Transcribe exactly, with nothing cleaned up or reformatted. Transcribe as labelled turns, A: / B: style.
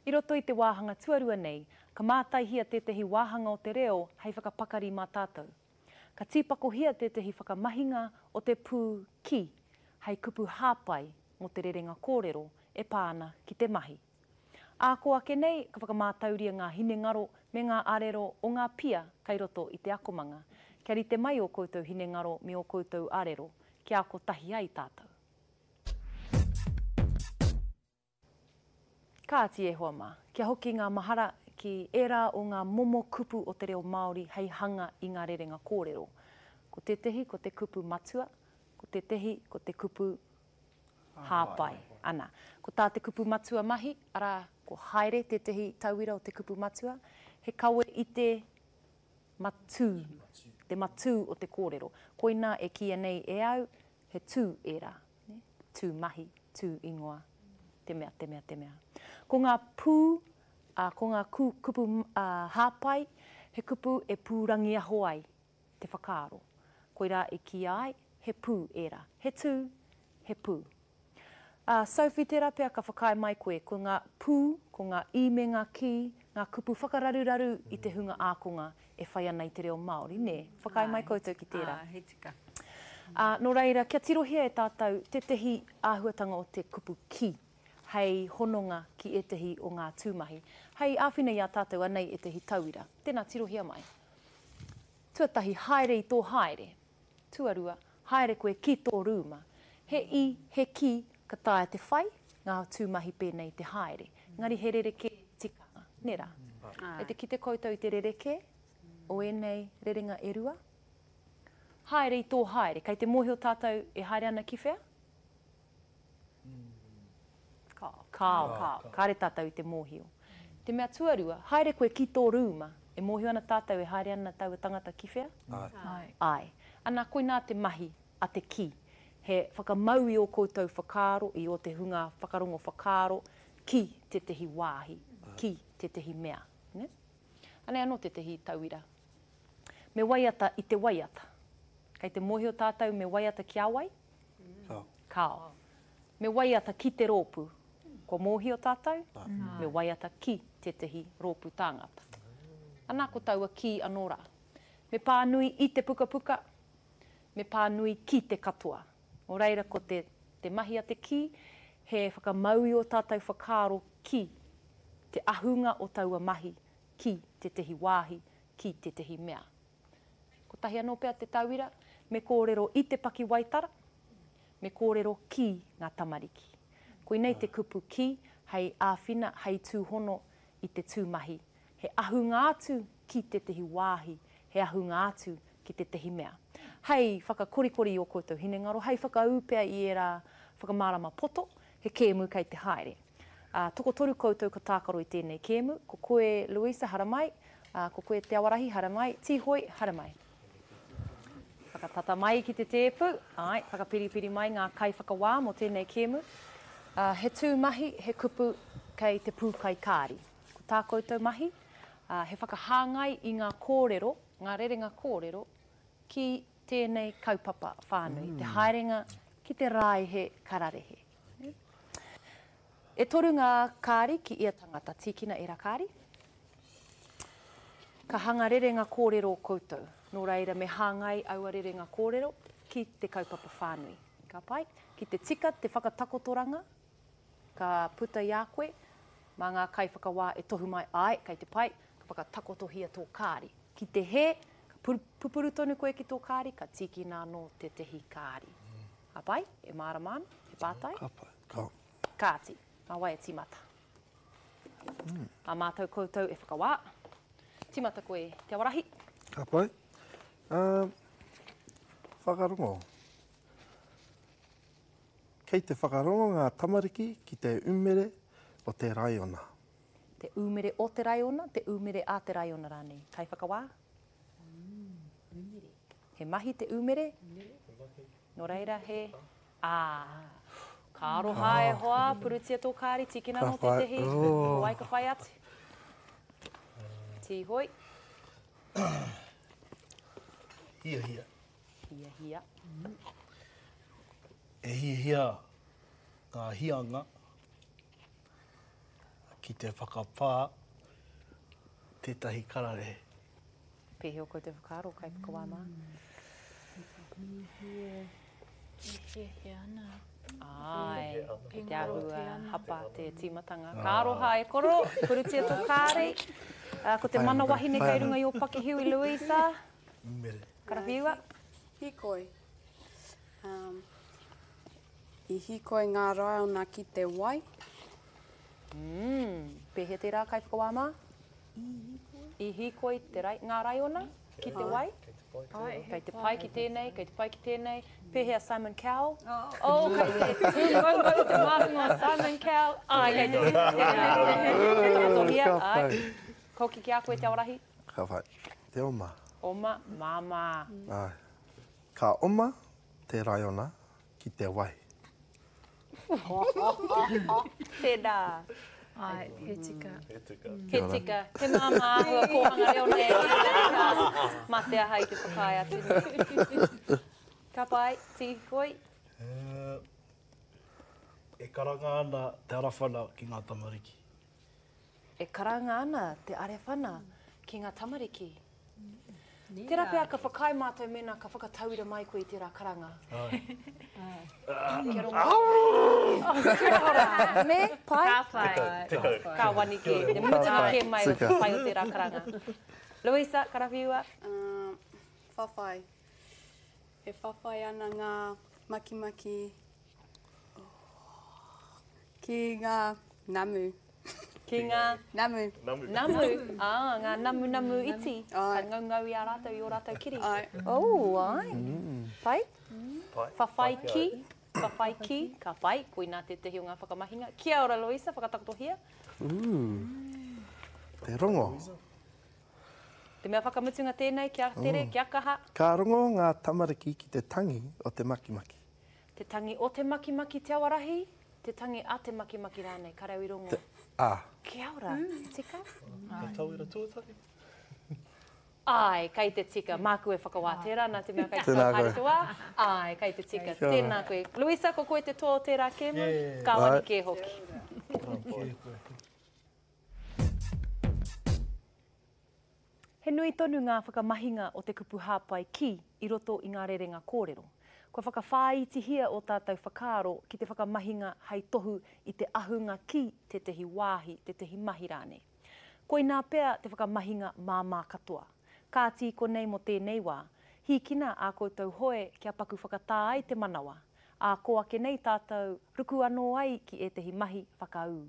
A: I roto i te wāhanga tuarua nei, ka mātaihia tētahi wāhanga o te reo hei whakapakari mā tātou. Ka tīpakohia tētahi whakamahinga o te pū ki hei kupu hāpai mō te rerenga kōrero e pā ana ki te mahi. Ā kō ake nei, ka whakamātauria ngā hinengaro me ngā arero o ngā pia kei roto i te akomanga, kia rite mai ō koutou hinengaro me ō koutou arero, kia ako tahi ai tātou. Kāti e hoa mā, kia hoki ngā mahara ki ērā o ngā momo kupu o te reo Māori hei hanga i ngā rerenga kōrero. Ko tētehi ko te kupu matua, ko tētehi ko te kupu hāpai. Ana, ko tā te kupu matua mahi, arā, ko haere tētehi tauira o te kupu matua, he kawe i te matū, te matū o te kōrero. Koinā e kīia nei e au, he tū ērā, tū mahi, tū ingoa, te mea, te mea, te mea. Ko ngā pū, ā, ko ngā ku, kupu ā, hāpai, he kupu e pūrangiaho ai te whakaaro. Koirā e kīia ai, he pū ērā. He tū, he pū. Ā, Sophie, tērā pea ka whakaae mai koe, ko ngā pū, ko ngā i me ngā kī, ngā kupu whakararuraru i te hunga ākonga e whai ana i te reo Māori, nē? Whakaae mai koutou ki tērā?
B: Ā, he tika.
A: Ā, nō reira, kia tirohia e tātou tētehi āhuatanga o te kupu ki hei hononga ki ētehi o ngā tūmahi. Hei āwhina i a tātou anei ētehi tauira. Tēnā, tirohia mai. Tuatahi, haere i tō haere. Tuarua, haere koe ki tō rūma. He i, he ki, ka taea te whai, ngā tūmahi pēnei te haere. Engari he rerekē tikanga, nē rā? Kei te kite koutou i te rerekē o ēnei rerenga e rua? Haere i tō haere. Kei te mōhio tātou e haere ana ki whea?
B: Kāo.
A: Kāo. Kāo. Kāre tātou i te mōhio. Te mea tuarua, haere koe ki tō rūma. E mōhio ana tātou e haere ana taua tangata ki whea?
B: Āe.
A: Āe. Ana, koinā te mahi a te kī. He whakamau i ō koutou whakaaro, i ō te hunga whakarongo whakaaro ki tētehi wāhi, ki tētehi mea. Nē? Anei anō tētehi tauira. Me waiata i te waiata. Kei te mōhio tātou me waiata ki a wai?
C: Kāo.
A: Kāo. Me waiata ki te rōpū. Kua mōhio tātou? Me waiata ki tētehi rōpū tāngata. Ana, ko taua ki anō rā. Me pānui i te pukapuka, me pānui ki te katoa. Nō reira, ko te, te mahi a te kī, he whakamau i ō tātou whakaaro ki te ahunga o taua mahi, ki tētehi wāhi, ki tētehi mea. Kotahi anō pea te tauira, me kōrero i te pakiwaitara, me kōrero ki ngā tamariki. Koinei te kupu ki hei āwhina, hei tūhono i te tūmahi. He ahunga atu ki tētehi wāhi, he ahunga atu ki tētehi mea. Hei whakakorikori i ō koutou hinengaro, hei whakaū pea i ērā whakamārama poto, he kēmu kei te haere. Ā, tokotoru koutou ka tākaro i tēnei kēmu, ko koe Louisa, haramai, ā, ko koe Te Awarahi, haramai, Tīhoi, haramai. Whakatata mai ki te tēpu, āe, whakapiripiri mai ngā kaiwhakawā mō tēnei kēmu. Ā, he tū mahi, he kupu kei te pūkai kāri. Ko tā koutou mahi, ā, he whakahāngai i ngā kōrero, ngā rerenga kōrero, ki tēnei kaupapa whānui, te haerenga ki te rāihe kararehe. E toru ngā kāri ki ia tangata, tīkina ērā kāri. Ka hanga rerenga kōrero koutou, nō reira me hāngai aua rerenga kōrero ki te kaupapa whānui. Ka pai? Ki te tika te whakatakotoranga ka puta i a koe, mā ngā kaiwhakawā e tohu mai, āe, kei te pai, ka whakatakotohia tō kāri. Ki te hē, ka pupuru tonu koe ki tō kāri, ka tīkina anō tētehi kāri. Ka pai? E mārama ana? He pātai?
C: Ka pai. Ka.
A: Kāti, mā wai e tīmata? Mā mātou koutou e whakawā. Tīmata koe, Te Awarahi.
C: Ka pai. Uh, whakarongo. Kei te whakarongo ngā tamariki ki te umere o te raiona.
A: Te umere o te raiona, te umere a te raiona rānei. Kaiwhakawā?
B: Mm, umere.
A: He mahi te umere? Nō reira he... Ā, ka aroha e hoa, purutia tō kāri, tīkina anō tētehi, ko wai ka whai atu? Tīhoi.
D: Hiahia.
A: Hiahia.
D: E hiahia ngā hianga ki ki te whakapā tētahi kararehe.
A: Pēhea ō koutou whakaaro, kaiwhakawā mā?
B: E hiahia ana.
A: Āe, kei te āhua hapa te tīmatanga. Ka aroha e koro, purutia tō kāri. Ko te mana wahine kei runga i ō pakihiwi, Louisa.
D: Mere.
A: Karawhiua.
E: Hīkoi. Um, I hīkoi ngā raiona ki te wai.
A: Mm, pēhea tērā kaiwhakawā mā? I hīkoi. I hīkoi te rai, ngā raiona ki te wai? Kei te pai ki tēnei, kei te pai ki tēnei. Pēhea Simon Cowell? Oh, kei te tūmaumau te māhunga o Simon Cowell. Ai, kei te tūmaumau. Ai. Koki ki a koe te aorahi.
C: Ka whai. Te oma.
A: Oma, māmā.
C: Ai. Ka oma te raiona ki te wai.
A: Tēnā.
B: Ai, he tika.
D: He tika.
A: He tika. He māmā āhua kōhanga reo nei. Mā te aha i te whakaae atu nei. Ka pai, tīhikoi.
D: E karanga ana te arewhana ki ngā tamariki.
A: E karanga ana te arewhana ki ngā tamariki. Tērā pea ka whakaae mātou mēnā ka whakatauira mai koe i tērā karanga. Kia rongo. Kia ora. Me, pai?
B: Ka pai.
D: Tekau.
A: Ka wani kē. Te mutunga kē mai o te pai o tērā karanga. Louisa, karawhiua.
E: Um, whawhai. E whawhai ana ngā makimaki ki ngā namu.
A: Ki ngā
E: Namu.
D: Namu.
A: Namu. Ah, ngā namu namu iti.
E: Ai.
A: Ka ngaungau i a rātou, i ō rātou kiri.
E: Ai.
A: Oh, ai. Pai?
D: Pai.
A: Whawhai ki. Whawhai ki. Ka pai. Koinā tētahi o ngā whakamahinga. Kia ora, Louisa, whakatakotohia.
C: Te rongo.
A: Te mea whakamutunga tēnei, kia tere, kia kaha.
C: Ka rongo ngā tamariki ki te tangi o te makimaki.
A: Te tangi o te makimaki te awarahi, te tangi a te makimaki rānei, ka rau i rongo.
C: Te, a.
A: Kia ora, tika?
D: Te tauira tuatahi.
A: Ai, kei te tika. Māku e whakawā tērā, nā te mea kei te
C: Tēnā
A: haere
C: koe.
A: te wā. Ai, kei te tika.
C: Kia ora.
A: Tēnā koe. Louisa, ko koe te toa o tērā kēmu?
D: Yeah.
A: Ka wani
C: Ai.
A: kē hoki. He nui tonu ngā whakamahinga o te kupu hāpai ki i roto i ngā rerenga kōrero. Kua whakawhāitihia o tātou whakaaro ki te whakamahinga hei tohu i te ahunga ki tētahi wāhi, tētahi mahi rānei. Koinā pea te whakamahinga māmā katoa. Kāti konei mō tēnei wā, hīkina ā koutou hoe kia paku whakatā ai te manawa. Ā kō ake nei tātou ruku anō ai ki ētahi mahi whakaū.